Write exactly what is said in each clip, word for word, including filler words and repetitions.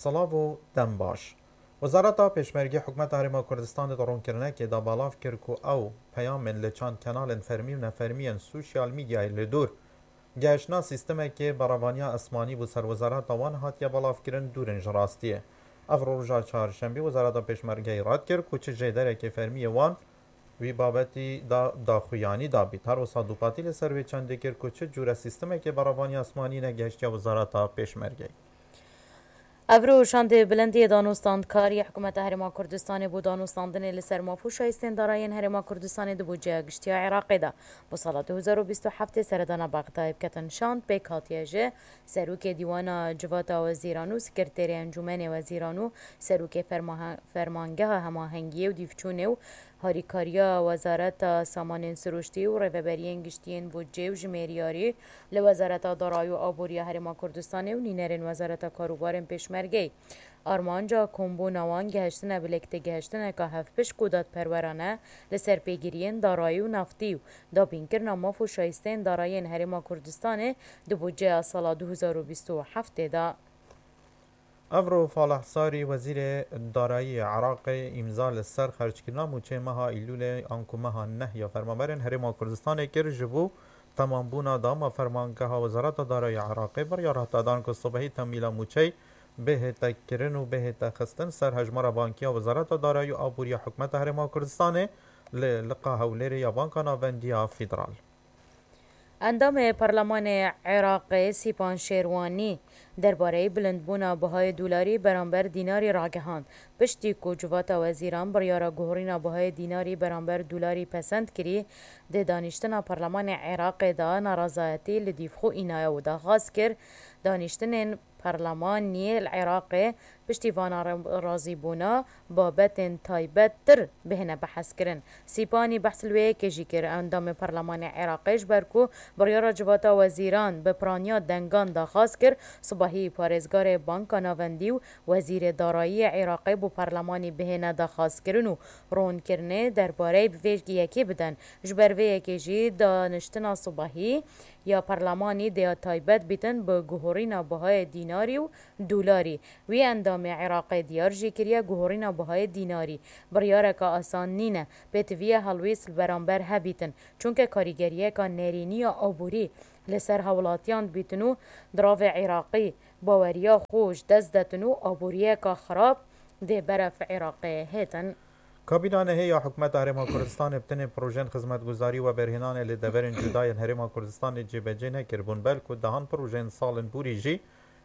Silav û dem baş. Wezareta Pêşmergê Hikûmeta Herêma Kurdistanê di ronkirinekê de belav kir ku ew peyamên li çand kenalên fermî û nefermî yên sosyal medyayê li dûr gehiştina sîstemekê berevaniya esmanî bo ser wezareta wan hatiye belavkirin dûr in ji rastiyê. Ev roja çarşembî Wezareta Pêşmergeyê red kir ku çi jêderekê fermî yê wan wî babetî de daxuyanî dabît. Her wisa dûpatî li ser wê çendê kir ku çi cûre sîstemekê berevaniya esmanî negehiştiye Wezareta Pêşmergeyê. Evro şandê bilind yê danûstandkarî Hikûmeta Herêma Kurdistanê bo danûstandinê li ser maf û şayistên darayên Herêma Kurdistanê di budceya giştiya Iraqê de bo sala du hezar û bîst û heftê seredana Bexdayê biketin şand, pêk hatiye ji Serokê Dîwana Civata Wezîran û Sekreterê Encûmenê Wezîran û Serokê Fermahe-, Fermangeha Hemahengiyê û Dîvçûnê û Harîkariya Wezareta Samanên Sirûştî û Rêveberiyên Giştî yên Budcê û Jimêriyarî li Wezareta Darayî û Aboriya Herêma Kurdistanê û nînerên Wezareta Karûbarên Pêşmergeyê. Armanca kombûna wan gehiştine bi lêktêgehiştineka hevpişk û dadperwerane li ser pêgiriyên darayî û naftî û dabînkirina maf û şayisteyên darayiyên Herêma Kurdistanê di budceya sala du hezar û bîst û heftê de. Evro Falih Sarî, Wezîrê Darayî yê Iraqê, îmza li ser xerckirina mûçeyê meha Îlûlê anku meha neh ya fermaberên Herêma Kurdistanê kir. Ji bo temambûna dama fermangeha Wezareta Darayî ya Iraqê biryar hate dan ku sibehî temîla mûçeyê bihête kirin û bihête xistin ser hejmara bankî ya Wezareta Darayî û Aboriya Hikûmeta Herêma Kurdistanê li Liqa Hewlêrê ya Banka Navendî ya Federal. Endamê Parlemanê Iraqê Sîpan Şêrwanî derbareyî bilindbûna bihayê dolarî beramber dînarî ragihand, piştî ku Civata Wezîran biryara guhorîna bihayê dînarî beramber dolarî pesend kirî, di danîştina Parlemanê Iraqê de narazayetî li dîv xwe înaye û daxwaz kir, danîştinên Parlemaniyê li Iraqê piştî vana re-, razîbûna babetên taybettir bihêne behskirin. Sîpanî behs li wê yekê jî kir, endamê Parlemanê Iraqê ji ber ku biryara Civata Wezîran bi piraniya dengan daxwaz kir, sibahî parêzgarê Banka Navendî û Wezîrê Darayî yê Iraqê bo Parlemanî bihêne daxwazkirin û ronkirinê derbareyî bi vê yekê bidin. Ji ber vê yekê jî daniştina sibahî ya Parlemanî dê ya taybet bîtin bi guhorîna bihayê dînarî û dolarî. Wî endamê Iraqê diyar jî kiriye, guhorîna bihayê dînarî biryareke asan nîne. Pêtiviye helwêst li beramber hebîtin, çunke karîgeriyeka nerînî ya aborî li ser hawlatiyan dibîtin û diravê Iraqî baweriya xwe ji dest detin û aboriyeka xirab dê berev Iraqê hêtin. Kabîna nehê ya Hikûmeta Herêma Kurdistanê bi tenê projeyên xizmetguzarî û weberhênanê li deverên cuda yên Herêma Kurdistanê cêbecê nekiribûn, belku dehan projeyên salên borî jî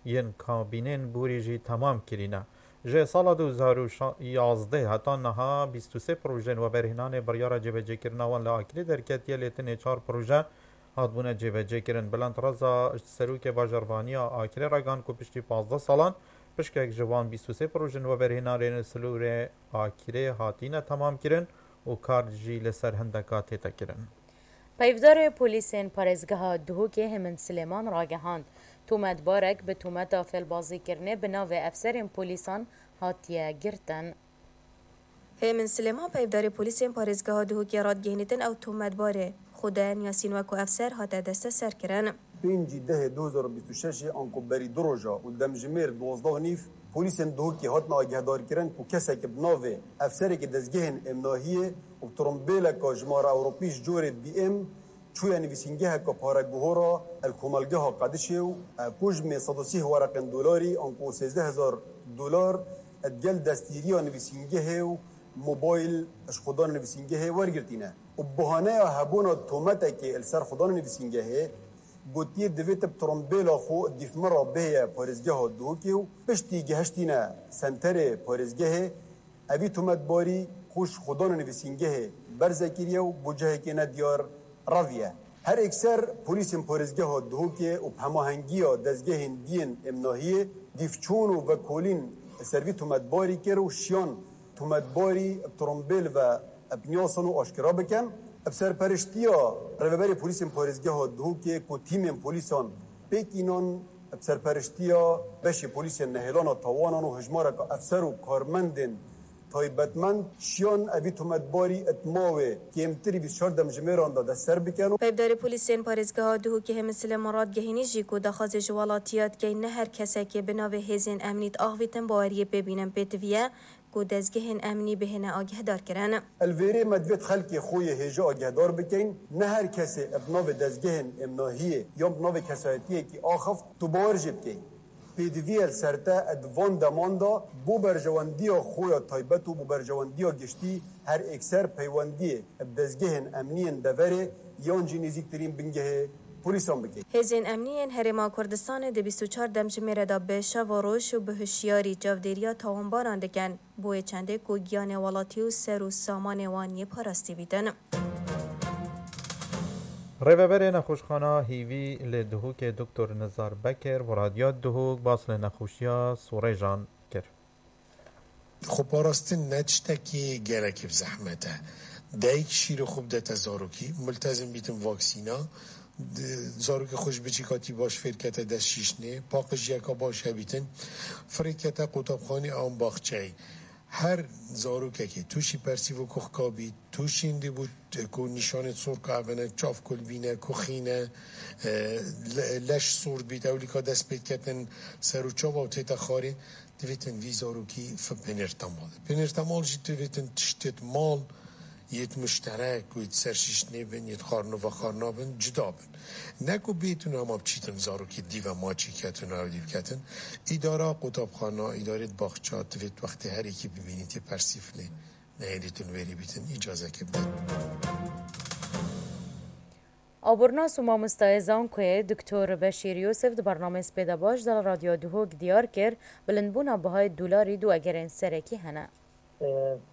yên kabînên borî jî temam kirîne. Ji sala du hezar û yazdeh heta niha bîst û sê projeyên weberhênanê biryara cêbecêkirina wan li Akilê derketiye, lê tenê çar proje hatbûne cêbecêkirin. Belend Reza, serokê bajarvaniya Akilê, ragihan ku piştî pazdeh salan pişkek ji van bîst û sê projeyên weberhênanê li sînorê Akilê hatîne temamkirin û kar jî li ser hindeka tête kirin. Peyvdarê polîsên parêzgeha Duhokê Hêmin Silêman ragihand, tometbarek bi tometa fêlbazîkirinê bi navê efserên polîsan hatiye girtin. Hêmin Silêman, peyvdarê polîsên parêzgeha Duhokê, radgihînîtin ew tometbarê Xweden Yasîn weko efser hate desteserkirin. Pêncî dehê du hezar û bîst û şeş anku berî du roja û demjimêr duwazdeh û nîv, polîsên Duhokê hatin agihdarkirin ku kesekî bi navê efserekî dezgehên emnahiyê û bi trombêleka jimara Ewropî ji corê B M çûye nivîsîngeheke pareguhora el komelgeha Qedişê û, e, ku ji mê sed û sîh wereqên dolarî anku sêzdeh hezar dolar digel destgîriya nivîsîngehê û mobayl ji xwedana nivîsîngehê wergirtîne. Û bi bahaneya hebûna tometekê li ser xwedana nivîsîngehê, gotiye, divê tu bi trombêla xwe dîf min re bihêye parêzgeha Duhokê û piştî gihiştîne senterê parêzgehê, evî tometbarî xwe ji xwedana nivîsîngehê berze kiriye û bo cihekê nediyar reviye. Her êkser polîsên parêzgeha Duhokê û bi hemahengiya dezgehên diyên emnahiyê dîfçûn û vekolîn ser vî tometbarî kir û şiyan tometbarî bi trombêl ve bi niyasan û aşkera bikin. Bi serperiştiya rêveberê polîsên parêzgeha Duhokê ku tîmên polîsan pêk înan, bi serperiştiya beşê polîsên nehêlana tawanan û hejmareka efser û karmendên Taybetmend şiyan evî tometbarî di mawê kêmtirî bîst û çar demjimêran de destser bikin. Peyvdarê polîsên parêzgeha Duhokê Hêmin Silêman radgehînî jî ku daxwazê ji welatiya dikeyn ne her kesekê bi navê hêzên emnî diaxivîtin baweriyê pê bînin pêtivî ye ku dezgehên emnî bihêne agihdarkirin. Li vêrê me divêt xelkê xwe yê hêja agihedar bikeyn, ne her kesê bi navê dezgehên emnahiyê yan bi navê kesayetiyekî axift tu bawer jê bikeyn. Pêdivî ye li ser te di van deman de bo berjewendiya xwe ya taybet û bo berjewendiya giştî her êkser peywendiyê bi dezgehên emniyên deverê yan jî nêzîktirîn bingehê polîsan bike. Hêzên emniyên Herêma Kurdistanê di bîst û çar demjimêre de bi şev û roj û bi hişyarî çavdêriya tawanbaran dikin. Bo yê çendê ku giyanê welatî û ser û samanê wan yê parastî bîtin. Rêveberê Nexweşxana Hîvî li Duhokê Doktor Nizar Bekir bo Radyoya Duhok bas li nexweşiya Sorêjan kir. Xweparastin ne tiştekî gelekî bi zehmet e. Dayik şîrê xwe bidete zarokî, multezim bîtin vaksîna, d-, zarokê xwe ji biçîka tî baş fêr kete dest şîşnê, paqijiyeka baş hebîtin, firê kete qutabxanê an baxçeyê. Her zarokekê tûşî persîv û kuxka bî, tûşî hindî bû t-, ku nîşanê sorka evene, çav kulbîne, kuxîne, e, le-, leş sor bît, ewlîka dest pê diketin ser û çava û tête xarê, divêtin vî zarokî fi pênêrtemal. Pênêrtemal jî divêtin tiştêt mal, yêt muşterek, yêt ser şîşnê bin, yêt xarn û vexarna bin, cuda bin. Ne ku bêtin hema biçîtin zarokî dîve maçî ketin û ew dî biketin. Îdara qutabxana, îdarê baxça, divêt wextê her yekî bibînî tê persîv lê. Nehêlîtin wêrî bîtin, îcazekê bidin. Abornas û mamostayê Zankoyê Doktor Beşîr Yûsif di bernameyê Spêda Baş de li Radyo Duhok diyar kir, bilindbûna bihayê dolarî du egerên serekî hene.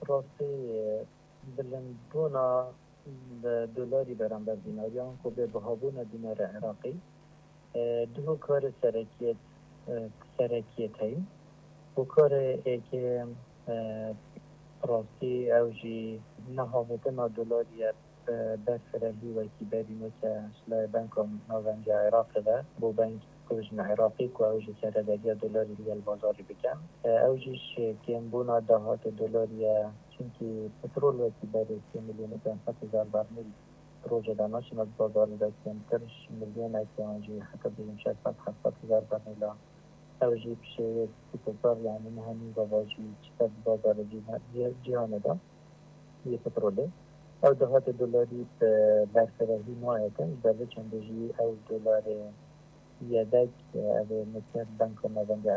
Rastî, bilindbûna dolarî beramber dînariyan ku bê bihabûna dînara Iraqî, du hokarê serekiyê, serekiyê heyî. Hokarê êkê, rastî ew jî nehavêtina dolarî ye. Berfirehî wekî berî neke ji layê Banka Navendî ya Iraqê ve bo bankê ku ji Iraqê ku ew jî serederiya dolarî li gel bazarê bikin. Ew jî ji kêmbûna dahatê dolarî ye. Çimkî petrol wekî berê sê milyon û pênc sed hezar bermîl di rojê de naçine di bazarê de, kêmtir ji milyonek yan jî heta bêjin şeş sed heft sed hezar bermîl e. Ew jî bi şêweyek spîkopar, yanî niha nîva vajî çi ser di bazarê cîha-, cî-, cîhanê de yê petrolê. Ew dahatê dolarî bi berfirehî nayêtin, ji ber vê çendê jî ew dolarê yedek, ev ê neke Banka Navendî ya